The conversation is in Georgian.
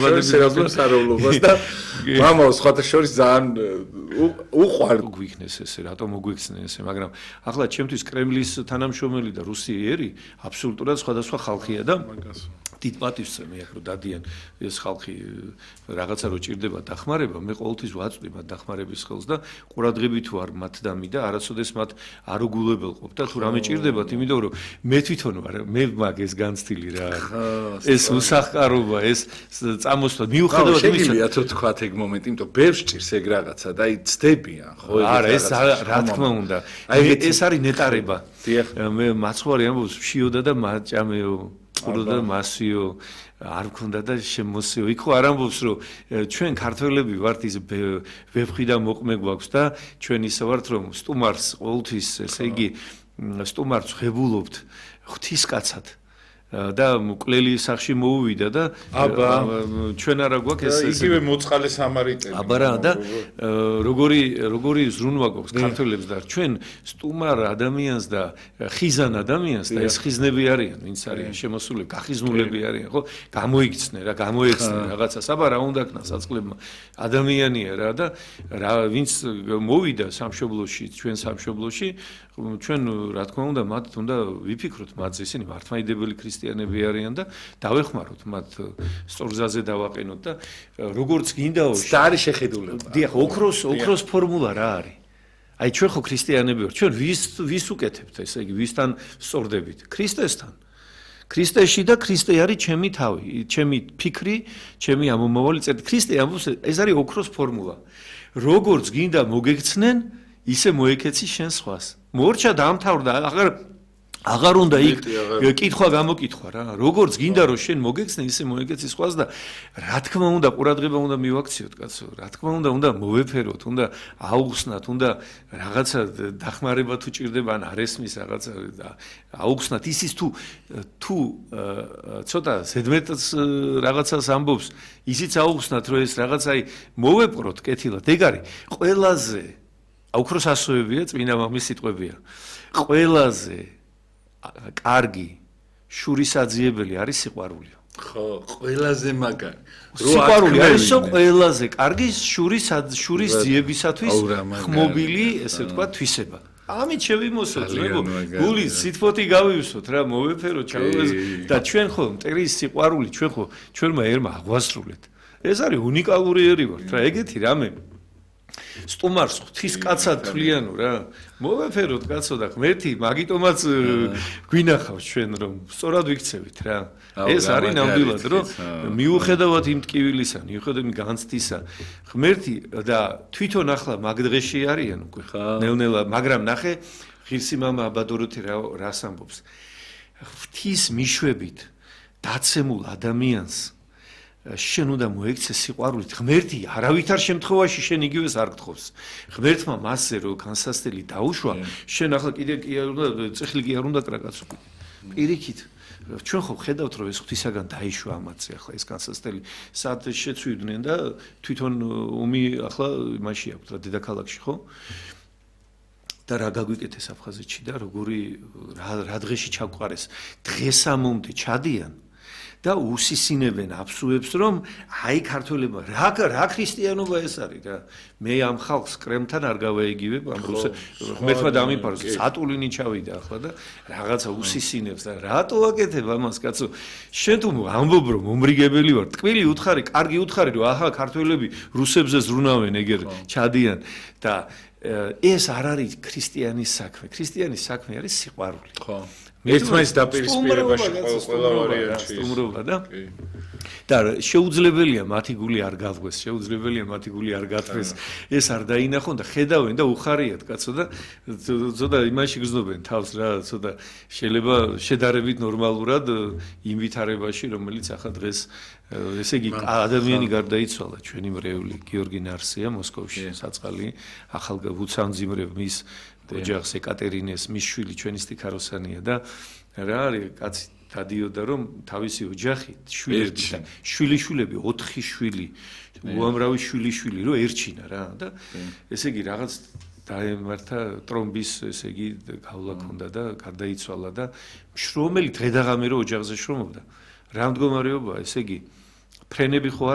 სერაპიმსაროლობას და მამაო სხვათა შორის ძალიან უყვარდ გვიქნეს ესე, რატომ მოგვიქცნენ ესე, მაგრამ ახლა ჩემთვის კრემლის თანამშრომელი და რუსიერი აბსოლუტურად სხვადასხვა ხალხია და დიდ პატივს მე აქ რო დადიან ეს ხალხი რაღაცა რო ჭირდება დახმარება, მე ყოველთვის ვაწვდი მათ დახმარების ხელს და ყურადღებით ვარ მათ დამი და არასოდეს მათ არ უგულებელყოფ და თუ რამე ჭირდებათ, იმიტომ რომ მე თვითონ ვარ, მე მაგ ეს განცდილი რა. ეს უსახკარობა, ეს წამოსვლა მიუხედავად იმისა, შეგიძლია თუ თქვათ ეგ მომენტი, იმიტომ ბევრს ჭირს ეგ რაღაცა და აი ცდებიან, ხო? არა, ეს რა თქმა უნდა. ეს არის ნეტარება. მე მაცხვარი ამბობს, შიოდა და მაჭამეო ყუროდა მასიო არ მქონდა და შემოსიო. იქ ხო არ ამბობს რომ ჩვენ ქართველები ვართ ის ვეფხვი და მოყმე გვაქვს და ჩვენ ისე ვართ რომ სტუმარს ყოველთვის ესე იგი სტუმარს ღებულობთ ღვთისკაცად და მკვლელი სახში მოუვიდა და ჩვენ არა გვაქვს ეს იგივე მოწყალე სამარიტელი. აბა რა და როგორი ზრუნვა გვაქვს ქართველებს და ჩვენ სტუმარ ადამიანს და ხიზან ადამიანს და ეს ხიზნები არიან, ვინც არიან შემოსულები, გახიზნულები არიან, ხო? გამოიქცნენ რა, გამოეცნენ რაღაცას, აბა რა უნდა ქნა საწყლებმა ადამიანია რა და ვინც მოვიდა სამშობლოში, ჩვენ სამშობლოში, ჩვენ რა თქმა უნდა მათ უნდა ვიფიქროთ მათზე, ისინი მართლმადიდებელი ქრისტიანები არიან და დავეხმაროთ მათ სწორგზაზე დავაყენოთ და როგორც გინდაო და არის შეხედულება. დიახ, ოქროს ფორმულა რა არის? აი ჩვენ ხო ქრისტიანები ვართ, ჩვენ ვის უკეთებთ, ესე იგი ვისთან სწორდებით? ქრისტესთან. ქრისტეში და ქრისტე არის ჩემი თავი, ჩემი ფიქრი, ჩემი ამომავალი წერტი. ქრისტე ამბობს, ეს არის ოქროს ფორმულა. როგორც გინდა მოგექცნენ, ისე მოეკეცი შენ სხვას. მორჩა დაამთავრდა, აღარ უნდა იქ კითხვა გამოკითხვა რა. როგორც გინდა რომ შენ მოგექცნე, ისე მოეკეცი სხვას და რა თქმა უნდა ყურადღება უნდა მივაქციოთ, კაცო. რა თქმა უნდა მოვეფეროთ, უნდა აუხსნათ, უნდა რაღაცა დახმარება თუ ჭირდება, ან არ ესმის რაღაცა და აუხსნათ. ისის თუ ცოტა ზედმეტს რაღაცას ამბობს, ისიც აუხსნათ, რომ ეს რაღაცაი მოვეპყროთ კეთილად. ეგ არის ყველაზე ოქროს ასოებია, წმინდა მამის სიტყვებია. ყველაზე კარგი შურისაძიებელი არის სიყვარული. ხო, ყველაზე მაგარი. სიყვარული არის ყველაზე კარგი შურის ძიებისათვის ხმობილი, ესე ვთქვა, თვისება. ამით შევიმოსოთ, გული სიტფოთი გავივსოთ რა, მოვეფეროთ, ჩავევაზოთ და ჩვენ ხო მტრის სიყვარული, ჩვენმა ერმა აღვასრულეთ. ეს არის უნიკალური ერი ვართ რა, ეგეთი რამე. სტუმარს ღვთისკაცად თვლიანო რა. მოვეფეროთ კაცო და ღმერთი მაგიტომაც გვინახავს ჩვენ რომ სწორად ვიქცევით რა. ეს არის ნამდვილად რომ მიუხედავად იმ ტკივილისა, მიუხედავად იმ განცდისა, ღმერთი და თვითონ ახლა მაგ დღეში არიან უკვე ნელ-ნელა, მაგრამ ნახე ღირსი მამა აბადოროთი რას ამბობს. ღვთის მიშვებით დაცემულ ადამიანს შენ უნდა მოექცე სიყვარულით. ღმერთი არავითარ შემთხვევაში შენ იგივეს არ გთხოვს. ღმერთმა მასზე რო განსასწრელი დაუშვა, შენ ახლა კიდე წიხლი კი არ უნდა კრაკაცო. პირიქით ჩვენ ხო ხედავთ რომ ეს ღვთისაგან დაიშვა ამათზე ახლა ეს განსასწრელი სად შეცვიდნენ და თვითონ ომი ახლა იმაში აქვს რა დედაქალაქში ხო? და რა გაგვიკეთეს აფხაზეთში და რა დღეში ჩაგვყარეს. დღესამომდე ჩადიან და უსისინებენ აფსუებს რომ აი ქართველებმა რა ქრისტიანობა ეს არის რა. მე ამ ხალხს კრემთან არ გავაიგივებ ამ ღმერთმა დამიფაროს სატულინი ჩავიდა ახლა და რაღაცა უსისინებს და რატო აკეთებ ამას კაცო. შენ თუ ამბობ რომ მომრიგებელი ვარ, ტკბილი უთხარი, კარგი უთხარი რომ აჰა ქართველები რუსებზე ზრუნავენ ეგერ ჩადიან და ეს არ არის ქრისტიანის საქმე. ქრისტიანის საქმე არის სიყვარული. ხო. ერთმანეთის დაპირისპირებაში ყველა ვარიანტი სტუმრობა და შეუძლებელია მათი გული არ გავღვეს, შეუძლებელია მათი გული არ გათვეს. ეს არ დაინახონ და ხედავენ და უხარიათ კაცო და ცოტა იმაში გრძნობენ თავს რა, ცოტა შეიძლება შედარებით ნორმალურად იმ ვითარებაში, რომელიც ახლა დღეს ესე იგი ადამიანი გარდაიცვალა ჩვენი მრევლი გიორგი ნარსია მოსკოვში საწყალი ახალგაზრდა მის ოჯახს ეკატერინეს მის შვილი ჩვენი სტიქაროსანია და რა არის კაცი დადიოდა რომ თავისი ოჯახი შვილიშვილები 4 შვილი უამრავი შვილიშვილი რო ერჩინა რა და ესე იგი რაღაც დაემართა ტრომბის ესე იგი გავლა ქონდა და გარდაიცვალა და შრომელი დღე და ღამე რო ოჯახზე შრომობდა რა მდგომარეობა ესე იგი ფრენები ხო არ